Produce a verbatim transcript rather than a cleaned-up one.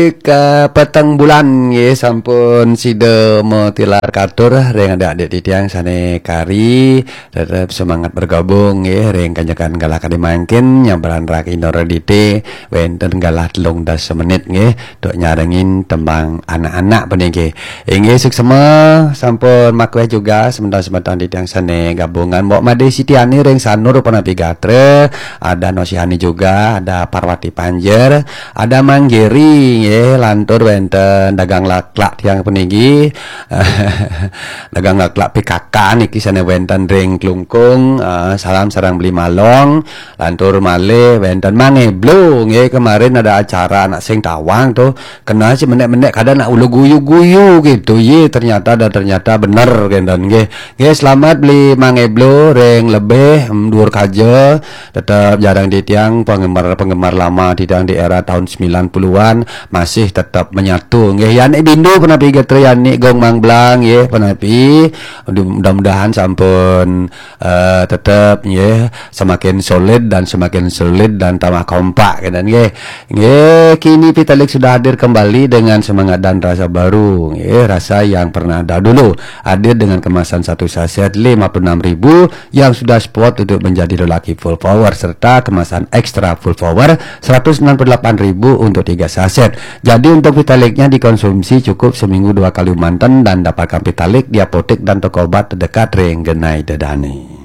Kapeteng bulan nggih sampun sida matilar katur ring adik-adik titiang sane kari, tetep semangat bergabung nggih ring kanjekan galah kadi mangkin nyabran raki Indra Dite wenten galah telung dasa menit nggih duk nyarengin tembang anak-anak puniki. Inggih suksema sampun makweh juga semeton-semeton titiang sane gabungan Mbok Made Sitiani ring Sanur punapi gatra, ada Nosihani juga, ada Parwati Panjer, ada Manggiri nggih, lantur wenten dagang laklak tiang puniki. Dagang laklak P K K niki sane wenten ring Klungkung. Ah, salam sareng Beli Malong, lantur malih wenten Mang Eblo nggih, kemarin ada acara anak sing tawang tuh. Kena si menek-menek kada nak ulu guyu-guyu gitu. Ye, ternyata dan ternyata bener kenten nggih. Nggih, selamat Beli Mang Eblo ring lebih, em, duur kaja. Tetep jarang titiang penggemar-penggemar lama titiang di era tahun sembilan puluhan masih tetep menyatu. Nggih, Yani Bindu punapi gatra Yani Gong Mang Blang nggih punapi. Mudah-mudahan sampun, eh, tetep nggih semakin solid dan semakin solid dan tambah kompak kenten nggih. Nggih, kini Pitalik sudah hadir kembali dengan semangat dan rasa baru nggih, rasa yang pernah ada dulu. Hadir dengan kemasan satu saset lima puluh enam ribu yang sudah spot untuk menjadi lelaki full power serta kemasan ekstra full power seratus enam puluh delapan ribu untuk tiga saset. Jadi untuk Pitaliknya dikonsumsi cukup seminggu dua kali manten dan dapatkan Pitalik di apotek dan toko obat terdekat ring genai dedane.